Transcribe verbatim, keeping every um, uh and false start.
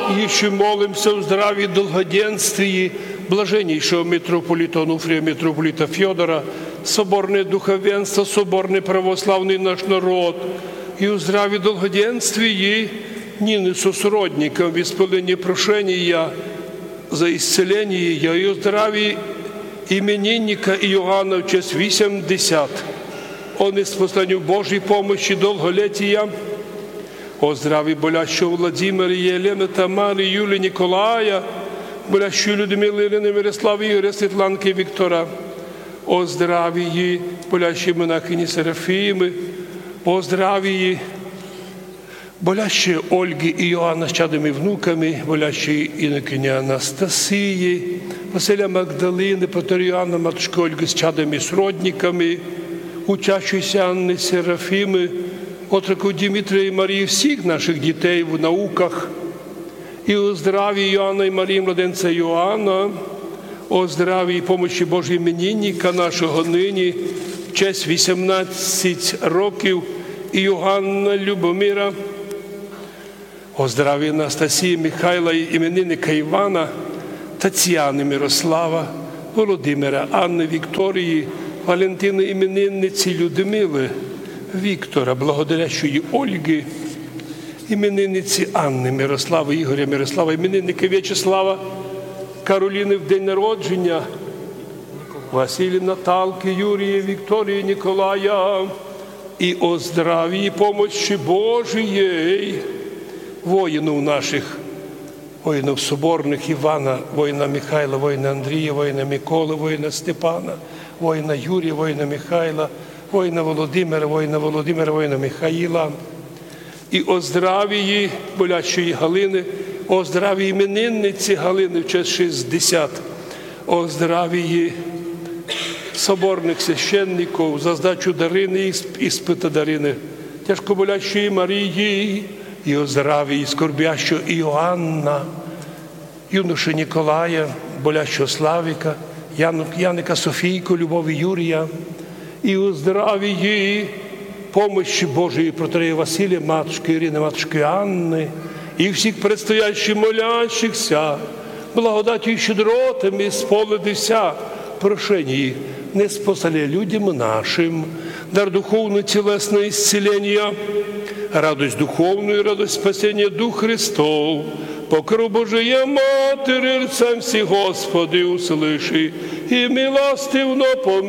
Іщи молимся о здраві и долгоденствії блаженнійшого митрополита Онуфрія, митрополита Фьодора, соборне духовенство, соборный православный наш народ, и о здраві и долгоденствії нїни сосродникам в исполненії прошенія за исцеленіє, и о здраві именинника Иоанна в честь вісемдесят. О неспосланю Божій помощи долголетія, о здраві болящого Владимира, Єлены, Тамары, Юлі, Николая, болящої Людмилы, Ирины, Мирославы, Игоря, Светланкы, Виктора, о здравії болящої монахини Серафимы, о здравії болящої Ольгы и Иоанна з чадом и внуками, болящої инокині Анастасії, Василя Магдалины, протоієрея Иоанна, матушкы Ольгы з чадом и сродниками, учащоїся Анны, Серафимы, отроков Димитрія и Марії, всіх наших дітей в науках, и о здраві Иоанна и Марії, младенця Иоанна, о здраві и помощи Божій именинника нашого нынї в честь вісемнадцять років Иоанна Любомира, о здраві Анастасії, Михайла и именинника Ивана, Тацияны, Мирослава, Володимира, Анны, Викторії, Валентины, именинниці Людмилы, Виктора, благодарящої Ольгы, именинниці Анны, Мирославы, Игоря, Мирослава, именинника Вячеслава, Каролины в день народженя, Василія, Наталкы, Юрія, Викторії, Николая, и о здраві и помощи Божией воїнов наших, воїнов соборных: Ивана, воїна Михайла, воїна Андрія, воїна Миколы, воїна Степана, воїна Юрія, воїна Михайла, воїна Володимира, воїна Володимира, воїна Михаїла. И о здравії болящої Галины, о здравій именинниці Галины в честь шістдесят, о здравії соборных священников за здачу Дарины и исп-, испыта Дарины, тяжко болящої Марії, и о здравії скорбящого Иоанна, юноши Николая, болящого Славика, Яну-, Яника, Софийку, Любови, Юрія, и о здравії помощи Божией протоієрея Василія, матушкы Ирины, матушкы Анны, и всіх предстоящих молящихся, благодатью и щедротами исполнити вся прошенія, неспосланя людям нашим дар духовный, телесный исцеления, радость духовную, радость спасения душ Христов, покров Божией Матери, рцем всі, Господи, услыши и милостивно помилуй.